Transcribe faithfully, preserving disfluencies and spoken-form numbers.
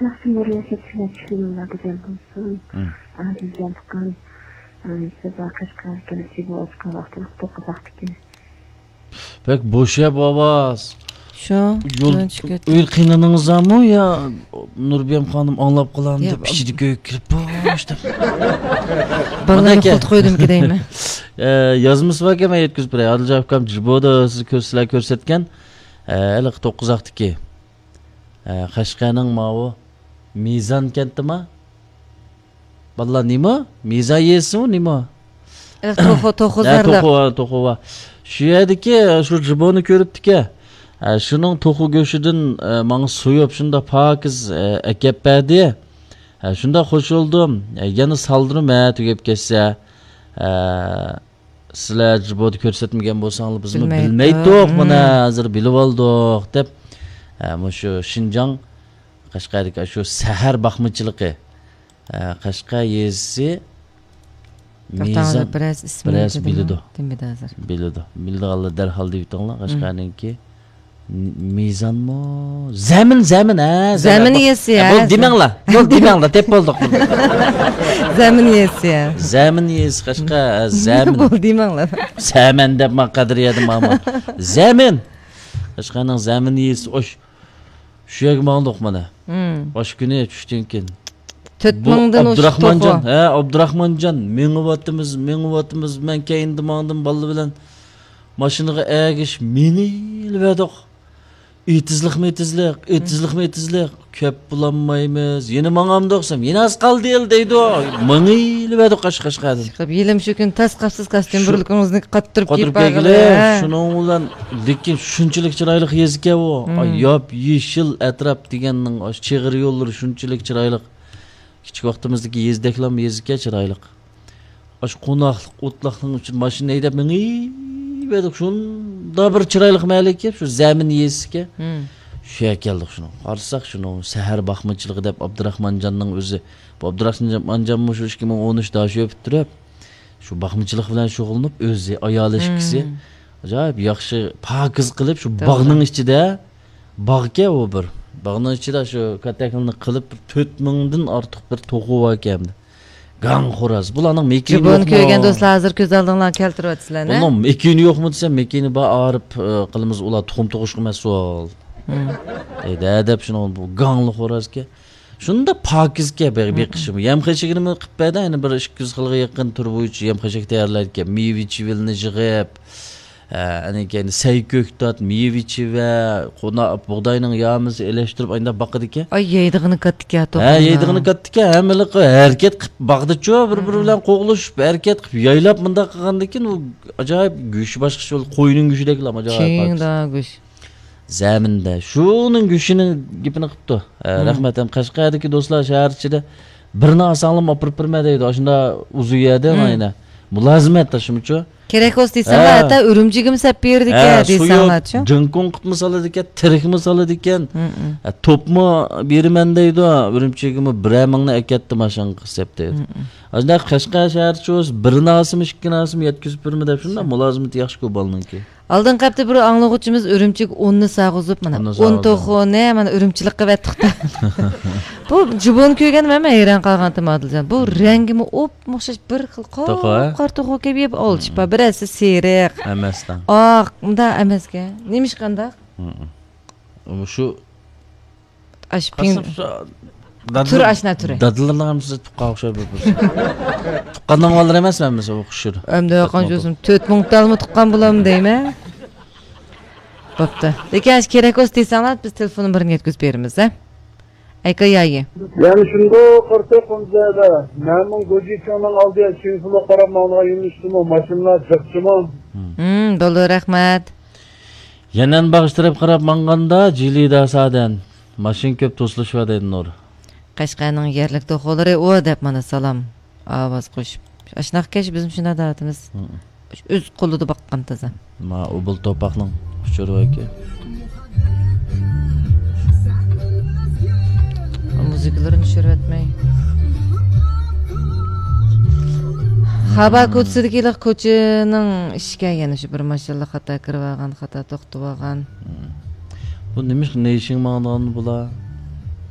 ياخشى، نۇرىيەگە چىلەك چۈشۈرۈڭلار، گۈزەل بولسۇن. مم. ئادىلجان ئۇكام، ئە، سىز قەشقەرگە كېلىشىگە ئوچۇققان ۋاقتىڭىز توققۇز ۋاقتىكەن. بەك بوشاپ ئاۋاز. شۇ، يول، يول چىقىۋەتتى. ئۆي قىينىنىڭىزمۇ يا نۇربىيەم خانىم ئاڭلاپ قالامدۇ يا، دەپ ئىچىدە كۆيۈپ كىرىپ بوش دەپ. بالىلارنى مانا ئەكە. قويدۇمكى دەيمەن. ئە، يازمىسى باركەن، مەن يەتكۈزۈپ بېرەي. ئادىلجان ئۇكام جىبودا سىز كۆر-، سىلەر كۆرسەتكەن، ئە، ھېلىقى توققۇز ۋاقتىكى. ئە، قەشقەرنىڭ ماۋۇ مىزان كەنتىما؟ بالىلار، نېمە؟ مىزان يېزىسىمۇ نېمە؟ ئە، توخۇ، توخۇ ھە، زەرلىق. توخۇ، ھە، توخۇ بار. شۇ يەردىكى، شۇ جىبونى كۆرۈپتىكەن. ئە، شۇنىڭ توخۇ گۆشىدىن، ئە، ماڭا سويۇپ، شۇنداق پاكىز، ئە، ئەكەپ بەردى. ئە، شۇنداق خوش بولدۇم. ئە، يەنە سالدۇرۇم، ھە، تۈگەپ كەتسە. ئە، سىلەر جىبودا كۆرسەتمىگەن بولساڭلار، بىزمۇ بىلمەيتتۇق. بىلمەيتتۇق، مانا، ھازىر بىلىۋالدۇق، دەپ، ئە، مۇشۇ شىنجاڭ، قەشقەردىكى شۇ سەھەر باقمىچىلىقى، ئە، قەشقەر يېزىسى توختاڭلار، مىزان، بىرەرسى ئىسمىنى بىرەرسى بىلىدۇ. دېمىدى ھازىر. بىلىدۇ. بىلىدىغانلار دەرھال دېيىۋېتىڭلار، قەشقەرنىڭكى. مىزانمۇ؟ زەمىن، زەمىن، ھە، زەمىن يېزىسى، ھە، ھە، بولدى، دېمەڭلار. بولدى، دېمەڭلار، دەپ بولدۇق. زەمىن يېزىسى، ھە. زەمىن يېزىسى، قەشقەر، ھە، زەمىن. بولدى، دېمەڭلار. زەمەن دەپ ما قەدرىيەدە ماما. زەمىن. قەشقەرنىڭ زەمىن يېزىسى، ئوش-، شۇ يەرگە ماڭدۇق مانا. مم. ئاشۇ كۈنى چۈشتىن كېيىن. تۆت مىڭدىن ئوشۇق توخۇ. ھە، ئابدۇراخمانجان، مېڭىۋاتىمىز، مېڭىۋاتىمىز. مەن كەينىدە ماڭدىم، بالىلار بىلەن. ماشىنىغا ئەگىشىپ مېڭىۋەردۇق. ئېتىزلىقمۇ ئېتىزلىق، ئېتىزلىقمۇ ئېتىزلىق. كۆپ بولالمايمىز. يەنە ماڭامدۇق دېسەم، يەنە ئاز قالدى دەيدۇ. مېڭىۋەردۇق قەش-، قەشقەردىن. چىقىپ، يېلىم شۇ كۈنى تاس قاپسىز، كاستيۇم شۇ بۇرۇلكىڭىزنى قاتتۇرۇپ قاتتۇرۇپ كىيىپ كەلگىلى، بارغىلى. شۇنىڭ بىلەن، لېكىن شۇنچىلىك چىرايلىق يېزىكەن ئۇ. مم. ئاي، ياپيېشىل ئەتراپ دېگەننىڭ، ئاشۇ چېغىر يوللىرى شۇنچىلىك چىرايلىق. كىچىك ۋاقتىمىزدىكى يېزىدەكلام يېزىكەن، چىرايلىق. ئاشۇ قوناقلىق، ئوتلاقنىڭ ئىچىدە ماشىنا ھەيدەپ مېڭىۋەردۇق. شۇنداق بىر چىرايلىق مەھەللىكەن، شۇ زەمىن يېزىسىكەن. مم. شۇ يەرگە كەلدۇق شۇنىڭ. قارىساق شۇنىڭ سەھەر باقمىچىلىقى دەپ ئابدۇراخمانجاننىڭ ئۆزى. بۇ ئابدۇراخمانجانمۇ شۇ ئىككى مىڭ ئون ئۈچ داشۆ پۈتتۈرۈپ، شۇ باقمىچىلىق بىلەن شۇغۇللىنىپ، ئۆزى، ئايالى، مم، ئىككىسى ئاجايىپ ياخشى پاكىز قىلىپ، شۇ توغرا. باغنىڭ ئىچىدە، باغكەن ئۇ بىر. باغنىڭ ئىچىدە شۇ كاتەكلىنى قىلىپ، بىر تۆت مىڭدىن ئارتۇق بىر توخۇ باركەن. گاڭ خوراز. بۇلارنىڭ مېكىنى يوقمۇ؟ بۇنى كۆرگەن دوستلار ھازىر كۆز ئالدىڭلارغا كەلتۈرۈۋاتىسىلەر، نە؟ بۇنىڭ مېكىنى يوقمۇ دېسەم، مېكىنى بار، ئارىپ، ئى، قىلىمىز، ئۇلار تۇخۇم تۇغۇشقا مەسئۇل. مم. ئەيدە دەپ شۇنىڭ بۇ گاڭلا خورازكەن. شۇنداق پاكىزكەن بېقىشىمۇ. يەم خەشىكىنىمۇ قىلىپ بەردى، يەنە بىر ئىككى يۈز خىلغا يېقىن تۈر بويىچە يەم خەشەك تەييارلايدىكەن. مېۋە چىۋىلنى يىغىپ، ئە، ئاندىن كېيىن سەي كۆكتات، مېۋە چىۋە، قونا-، بۇغداينىڭ يامىسى ئېلىشتۇرۇپ، ئانداق باقىدىكەن. ئاي، يەيدىغىنى كاتتىكەن، ھە، توقۇمدا. يەيدىغىنى كاتتىكەن، ھەممىلىقى ھەرىكەت قىلىپ، باغدا چۇ، بىر-بىرى بىلەن قوغلىشىپ، ھەرىكەت قىلىپ، يايلاپ مۇنداق قىلغاندىن كېيىن، ئۇ ئاجايىپ گۆشى باشقىچە بولدى، قوينىڭ گۆشىدەكلا ئاجايىپ پاكىز. كېيىن گۆش. زەمىندە. شۇنىڭ گۆشىنىڭ گېپىنى قىپتۇ. ھە، مم. رەھمەت. ھەم قەشقەردىكى دوستلار شەھەر ئىچىدە بىرنى ئالساڭلارمۇ ئاپىرىپ بېرىمەن دەيدۇ. ئاشۇنداق ئۇزۇن يەردە مانا. مۇلازىمەت تاشلىمىچۇ. كېرەك بولسا دېسەڭلار، ھە. ھەتتا ئۈرۈمچىگىمۇ سەپ بېرىدىكەن، ھە، دېسەڭلارچۇ. سويۇپ، جىڭكۇڭ قىپمۇ سالىدىكەن، تىرىكمۇ سالىدىكەن. مم. ھە، توپمۇ بېرىمەن دەيدۇ. ئۈرۈمچىگىمۇ بىرەر مىڭنى ئەكەتتى ماشىنىغا سەپ دەيدۇ. مم. ئاشۇنداق قەشقەر شەھەرچۇ بولسا بىرنى ئالسىمۇ، ئىككىنى ئالسىمۇ يەتكۈزۈپ بېرىمەن دەپ شۇنداق مۇلازىمىتى ياخشىكۇ بالىنىڭكى. ئالدىنقى ھەپتە بىر ئاڭلىغۇچىمىز ئۈرۈمچىگە ئۇننى ساغۇزۇپ، مانا، ئۇننى ئۇن ساغۇزۇپ. توخۇنى، مانا، ئۈرۈمچىلىققا ئەۋەتتۇق. بۇ جۇبونى كۆرگەندە مەن ھەيران قالغانتىم، ئادىلجان. بۇ رەڭگىمۇ ئوپمۇ ئوخشاش، بىر خىل توخۇ، ھە؟ قاپقارا توخۇ كەبى، ئالچىپا، بىرەرسى سېرىق. ئەمەستە. ئاق، مۇنداق ئەمەسكەن. نېمىشقانداق؟ مۇشۇ ئاشۇ پىڭ-، قارىسام، شۇ دادىل-، تۈر ئاشنا تۈرى. دادىلىرىنىڭ ھەممىسى تۇغقانغا ئوخشايدۇ بىر-بىرسى. تۇغقاننىڭ بالىلىرى ئەمەسمۇ ھەممىسى ئوخشاش. ئەمدى قانچە بولسۇن، تۆت مىڭ تالمۇ تۇغقان بولامدۇ دەيمەن. بوپتۇ. لېكىن ئاشۇ كېرەك بولسا دېسەڭلار، بىز تېلېفون نومۇرىنى يەتكۈزۈپ بېرىمىز، ھە؟ ئەيكا يايى. يەنە شۇنداق قارىساق، قۇمزەدە مەمۇن گوجىچىڭنىڭ ئالدىغا چىڭفۇلغا قاراپ ماڭىدىغان يۆنىلىشتىمۇ ماشىنىلار جىقچىمۇ؟ ھىم، بولدى، رەھمەت. يەنەن باغچە تەرەپ قاراپ ماڭغاندا، جىلىدا سادەن. ماشىنا كۆپ توسۇلۇش بار دەيدۇ نۇر. قەشقەرنىڭ يەرلىك توخۇلىرى ئۇ دەپ مانا سالام ئاۋاز قوشۇپ. ئاشۇنداقكەن، بىزمۇ شۇنداق دەۋاتىمىز. ھىم. ئۆز قولىدا باققان تازا. ما ئوبۇل توپاقنىڭ ئۇچۇرى باركەن. مۇزىكىلىرىنى چۈشۈرۈۋەتمەي. خابا كوچىسىدىكى كوچىنىڭ ئىشىكى يەنە شۇ بىر ماشىنىلار خاتا كىرىۋالغان، خاتا توختىۋالغان. بۇ نېمىشقا نېيشىڭ ماڭىدىغان بۇلار؟